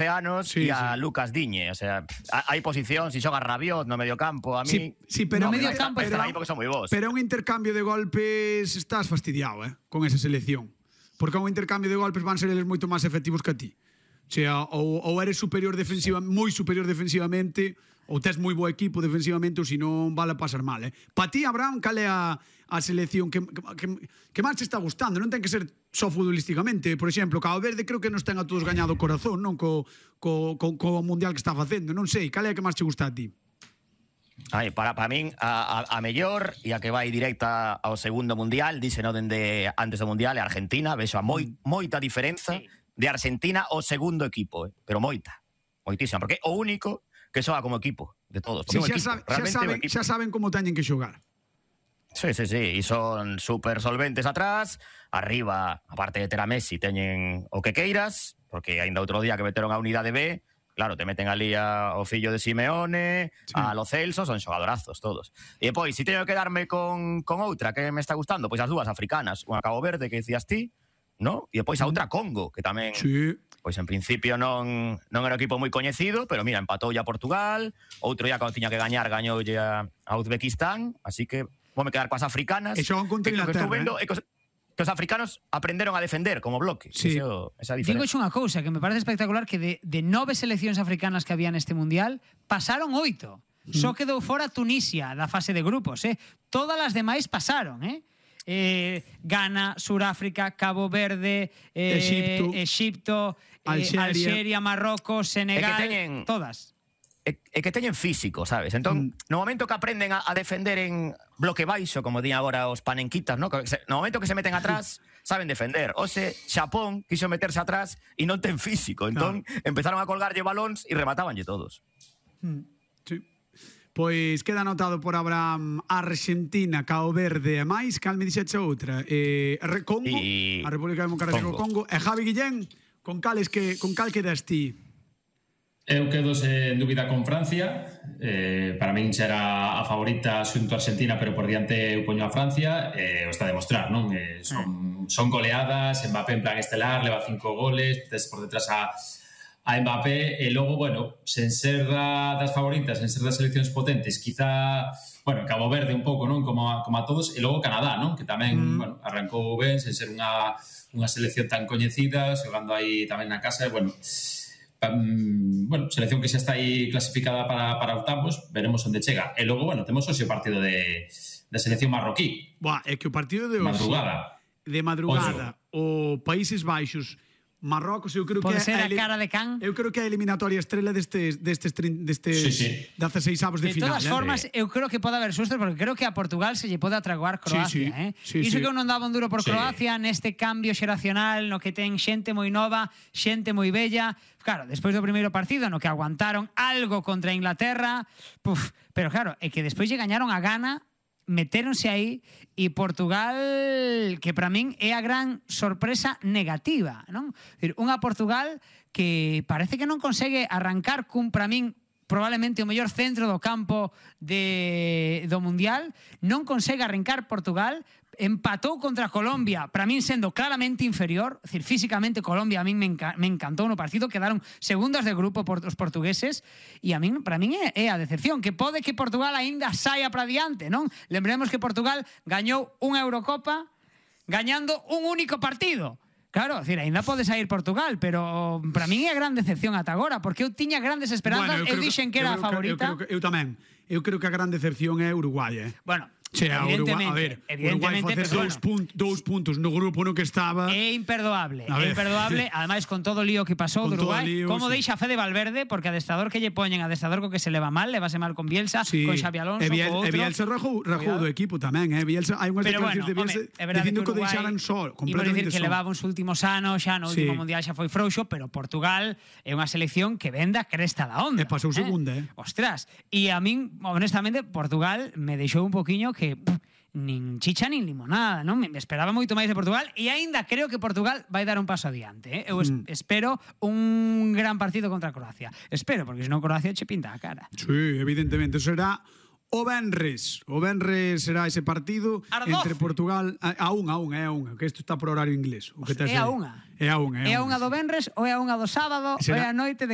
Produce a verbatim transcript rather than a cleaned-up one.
anos Sí, e a sí. Lucas Diñe. O sea, hai posición, si xoga Rabiot no medio campo, a mí... Sí, sí, pero no, medio están- campo están era- aí porque son moi bons. Pero é un intercambio de golpes, estás fastidiado, eh, con esa selección. Porque a un intercambio de golpes van ser eles moito máis efectivos que a ti. O sea, ou, ou eres superior defensiva, sí. moi superior defensivamente, ou tes moi bo equipo defensivamente, ou se non vale a pasar mal, eh. Pa ti, Abraham, cal é a, a selección que, que, que máis te está gustando? Non ten que ser só futbolísticamente. Por exemplo, Cabo Verde creo que nos ten a todos gañado o corazón, non? Co, co, co, co mundial que está facendo. Non sei, cal é a que máis te gusta a ti? Ai, para, para min, a, a, a mellor e a que vai directa ao segundo mundial, dice no dende antes do mundial, é Argentina, vexo a moi, moita diferenza sí. de Argentina ao segundo equipo, eh? Pero moita, moitísima, porque é o único que xoga como equipo de todos. Sí, xa, equipo, sabe, xa, saben, xa saben como teñen que xogar. Sí, sí, sí, e son super solventes atrás, arriba, aparte de ter a Messi, teñen o que queiras, porque ainda outro día que meteron a unidade B, claro, te meten ali a, o fillo de Simeone, sí. a Lo Celso, son xogadorazos todos. E depois, se teño que quedarme con, con outra que me está gustando, pois as dúas africanas, unha Cabo Verde, que decías ti, ¿no? E depois a outra Congo, que tamén, sí. pois en principio non, non era un equipo moi coñecido, pero mira, empatou a Portugal, outro día cando tiña que gañar, gañoulle a, a Uzbekistán, así que vou me quedar coas africanas. E xogan contra Inglaterra, que estou vendo, eh? é que os, que os africanos aprenderon a defender como bloque. Sí. Eso, esa diferencia. Digo unha cousa que me parece espectacular, que de, de nove seleccións africanas que había neste mundial, pasaron oito. Mm. Só quedou fora Tunisia da fase de grupos, eh? Todas as demais pasaron, eh? Eh, Ghana, Suráfrica, Cabo Verde, eh, Exipto, Exipto eh, Alxeria. Alxeria, Marrocos, Senegal, É que teñen- todas. É, é que teñen físico, sabes? Entón, mm. no momento que aprenden a, a defender en bloque baixo, como din agora os panenquitas, ¿no? Que se, no momento que se meten atrás, saben defender. Ose, Xapón quiso meterse atrás e non ten físico. Entón, claro. empezaron a colgarlle balóns e rematabanlle todos. Mm. Sí. Pois queda anotado por Abraham Argentina, Cabo Verde e máis. Cal me dixeche outra? Eh, Congo, y... a República Democrática do Congo. E Javi Guillén, con cales que con cal quedas ti? Eu quedo en dúbida con Francia. Eh, para min xa era a favorita xunto a Argentina, pero por diante eu poño a Francia. Eh, o está a demostrar, non? Eh, son, son goleadas, Mbappé en plan estelar, leva cinco goles, tes por detrás a a Mbappé, e logo, bueno, sen ser das favoritas, sen ser das seleccións potentes, quizá, bueno, Cabo Verde un pouco, non? Como a, como a todos, e logo Canadá, non? Que tamén, mm. bueno, arrancou ben, sen ser unha, unha selección tan coñecida, xogando aí tamén na casa, e, bueno, um, bueno, selección que xa está aí clasificada para, para octavos, veremos onde chega. E logo, bueno, temos hoxe o partido de, de selección marroquí. Buah, é que o partido de hoxe, madrugada. de madrugada, o Países Baixos, Marrocos, eu creo Pode que ser a ele... cara de can. Eu creo que é a eliminatoria estrela destes destes destes sí, sí. dezasseis avos de, de final. todas eh? formas, eu creo que pode haber sustos, porque creo que a Portugal se lle pode atraguar Croacia, sí, sí. eh? Sí, Iso sí. que eu non daba un duro por Sí. Croacia neste cambio xeracional no que ten xente moi nova, xente moi bella. Claro, despois do primeiro partido no que aguantaron algo contra Inglaterra, puf, pero claro, é que despois lle gañaron a Ghana, metéronse aí, e Portugal, que para min é a gran sorpresa negativa, non? Decir, unha Portugal que parece que non consegue arrancar cun, para min, probablemente o mellor centro do campo de, do Mundial, non consegue arrancar Portugal, empatou contra Colombia, para min sendo claramente inferior, é dicir, físicamente Colombia a min me, enca me encantou no partido, quedaron segundas de grupo por os portugueses, e a min, para min é, é a decepción, que pode que Portugal aínda saia para diante, non? Lembremos que Portugal gañou unha Eurocopa gañando un único partido. Claro, decir, ainda pode sair Portugal, pero para min é a gran decepción ata agora, porque eu tiña grandes esperanzas, bueno, eu, eu dixen que era a favorita. Que, eu, creo que, eu tamén. Eu creo que a gran decepción é Uruguai, eh? Bueno, Che, a Uruguai, a ver, Uruguai facer dous, bueno, punt, dous puntos no grupo no que estaba é imperdoable, A é ver. imperdoable, ademais con todo o lío que pasou Con de todo Uruguai, o lío, como sí. deixa Fede Valverde, porque adestrador que lle poñen, adestrador co que se leva mal, levase mal con Bielsa, sí. con Xabi Alonso, e Biel, co outro. E Bielsa rajou, rajou do equipo tamén, eh? Bielsa, hai unhas Pero declaracións bueno, de Bielsa home, é verdade dicindo que que o Uruguai, deixaran só, imos completamente dicir que só. levaba uns últimos anos, xa no Sí. último mundial xa foi frouxo, pero Portugal é unha selección que vende a cresta da onda. E pasou segunda, eh? Ostras, e a min, honestamente, Portugal me deixou un poquiño que pff, nin chicha nin limonada, non? Me esperaba moito máis de Portugal e aínda creo que Portugal vai dar un paso adiante, eh? Eu es, mm. espero un gran partido contra Croacia. Espero, porque senón Croacia che pinta a cara. Sí, evidentemente, será o venres. O venres será ese partido entre Portugal a, a unha, a unha, é a unha, que isto está por horario inglés. O que é a unha. É a unha, é a unha do venres ou é a unha do sábado ou é a noite de